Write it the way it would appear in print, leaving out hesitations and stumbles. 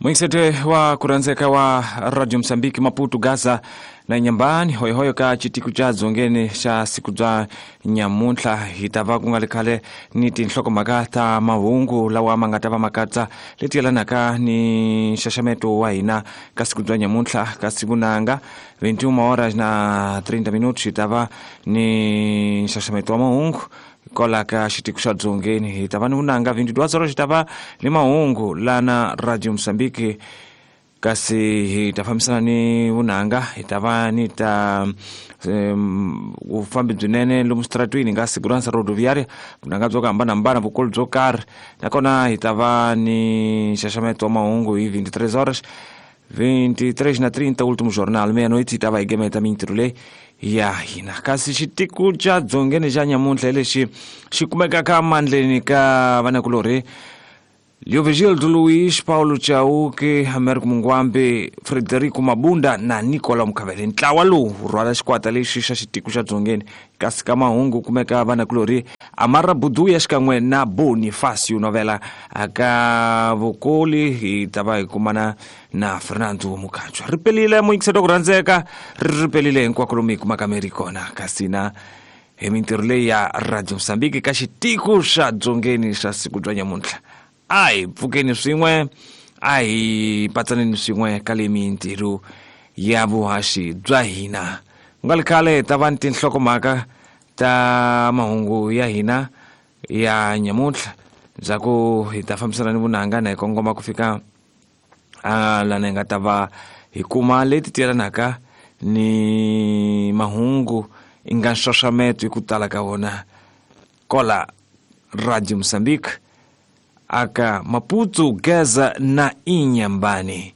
Mwinsete wa kuranzeka wa Radio Msambiki Maputo Gaza na Nyambani hoyohoyo ka chitiku cha dzongeni xa siku bya nyamuntlha hi ta va ku nga ri khale ni tinhlokomhaka ta mahungu lawa ma nga ta va ma katsa leti yelanaka ni nxaxameto wa hina ka siku bya nyamuntlha ka siku nanga 21 horas na 30 minutos hi ta va ni nxaxameto wa mahungu kwala ka xitiko xa dzongeni hi ta va ni vunanga 22 horas hi ta va ni mahungu lana Radio Mosambiki kasi hi ta fambisana ni vunanga hi ta va ni ta vufambi byinene lomu switaratwini nga segurança rodoviária vunanga byo ku hambanahambana vukulu byo karhi nakona hi ta va ni nxaxameto wa mahungu hi 23 horas 23 na 30 último jornal meia-noite hi ta va hi gemeta mintirho leyi ya hina kasi xitiko xa dzongeni xa nyamuntlha hi lexi xi kumekaka mandleni ka vanakulorhi Leovigildo Luiz, Paulo Chauke, Americo Mungwambe, Frederico Mabunda na Nicola Mukhavele. Ntlawa lowu wu rhwala xikwata lexi xa xitiko xa dzongeni kasi ka mahungu kumeka vanakulorhi Amara Buduya xikan'we na Bonifacio Novela aka vukoli hi ta va hi kumana na Fernando Mukhanjwa. Ri pelile muyingiselo ku rhandzeka ri ri pelile hinkwako lomu hi kumaka mi ri kona kasi na hi mintirho leyi ya Radio Mozambique ka xitiko xa dzongeni xa siku bya nyamuntlha a hi pfukeni swin'we a hi patsaneni swin'we ka le mintirho ya vuhaxi bya hina ku nga ri khale hi ta va ni tinhlokomhaka ta mahungu ya hina ya nyamuntlha ndzhaku hi ta fambisana ni vunanga na hi kongoma ku fika a lana hi nga ta va hi kuma leti tiyelanaka ni mahungu i nga nxaxameto hi ku tala ka wona kola Radio Mozambique aka Maputo Gaza na Inhambane.